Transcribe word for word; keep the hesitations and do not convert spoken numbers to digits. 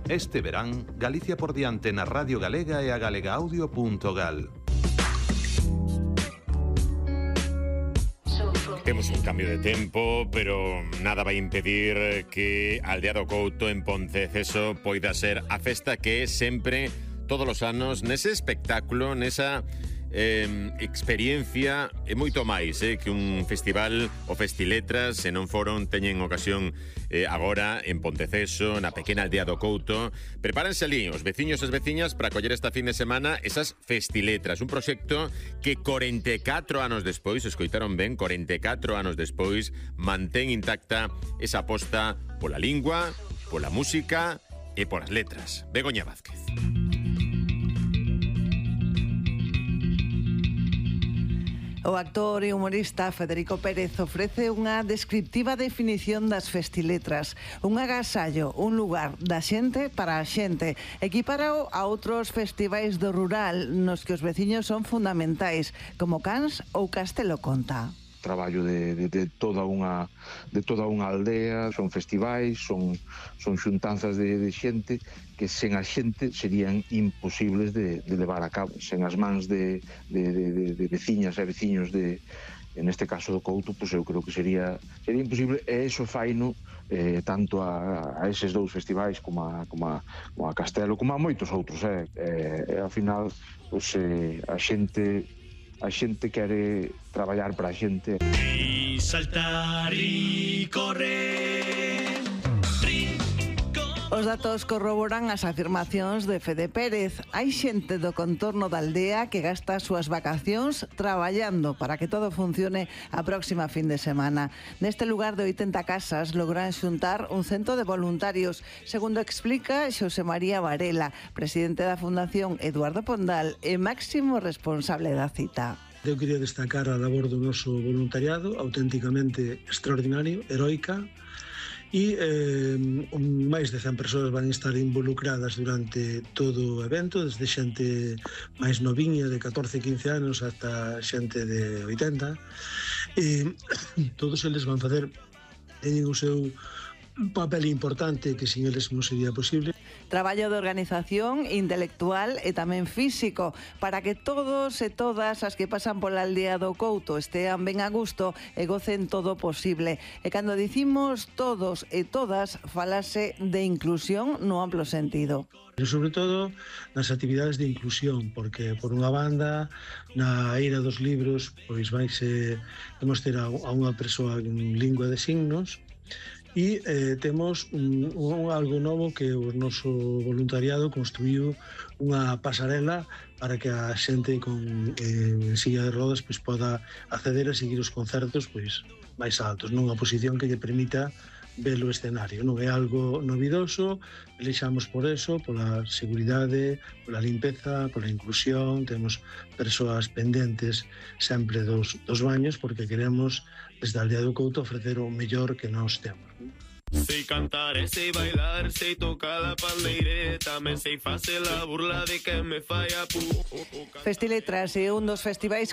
Este verán, Galicia por diante na Radio Galega e a galegaaudio punto gal. Temos un cambio de tempo, pero nada vai impedir que Aldea do Couto en Ponteceso poida ser a festa que é sempre, todos os anos, nese espectáculo, nesa eh, experiencia e moito máis eh, que un festival o Festiletras, se non foron, teñen ocasión eh, agora en Ponteceso, na pequena Aldea do Couto. Prepárense ali os veciños e as veciñas para coller esta fin de semana esas Festiletras, un proxecto que corenta e catro anos despois, escoitaron ben, corenta e catro anos despois, mantén intacta esa aposta pola lingua, pola música e polas letras. Begoña Vázquez. O actor e humorista Federico Pérez ofrece unha descriptiva definición das Festiletras, un agasallo, un lugar da xente para a xente, equiparao a outros festivais do rural nos que os veciños son fundamentais, como Cans ou Castelo Conta. Traballo de, de, de toda unha de toda unha aldea, son festivais, son son xuntanzas de, de xente que sen a xente serían imposibles de, de levar a cabo, sen as mans de, de, de, de, de veciñas e veciños de, en este caso do Couto, pois eu creo que sería sería imposible, e iso faino eh, tanto a, a eses dous festivais como a, como a, como a Castelo, como a moitos outros, eh, eh, e ao final pois, eh, a xente a xente quere traballar para a xente. E saltar e correr. Os datos corroboran as afirmacións de Fede Pérez. Hai xente do contorno da aldea que gasta as súas vacacións traballando para que todo funcione a próxima fin de semana. Neste lugar de oitenta casas logran xuntar un cento de voluntarios, segundo explica Xosé María Varela, presidente da Fundación Eduardo Pondal e máximo responsable da cita. Eu quería destacar a labor do noso voluntariado, auténticamente extraordinario, heroica, e eh, un, máis de cen persoas van estar involucradas durante todo o evento, desde xente máis noviña de catorce a quince anos ata xente de oitenta, e todos eles van facer, teñen o seu papel importante que sin eles non sería posible. Traballo de organización intelectual e tamén físico para que todos e todas as que pasan pola aldea do Couto estean ben a gusto e gocen todo posible. E cando dicimos todos e todas, falase de inclusión no amplo sentido. Pero sobre todo nas actividades de inclusión, porque por unha banda na Eira dos Libros pois vaise temos ter a, a unha persoa en lingua de signos. E eh, temos un, un algo novo que o noso voluntariado construiu unha pasarela para que a xente con eh, silla de rodas pois, poda acceder a seguir os concertos pois, máis altos, nunha posición que lle permita ver o escenario. Non é algo novidoso, elixamos por eso, pola seguridade, pola limpeza, pola inclusión, temos persoas pendentes sempre dos, dos baños porque queremos desde a Aldea do Couto ofrecer o mellor que nós temos. Sei cantar e sei bailar, sei tocar a pandeireta, me sei facer a burla de que me fai a pu. Festiletras é un dos festivais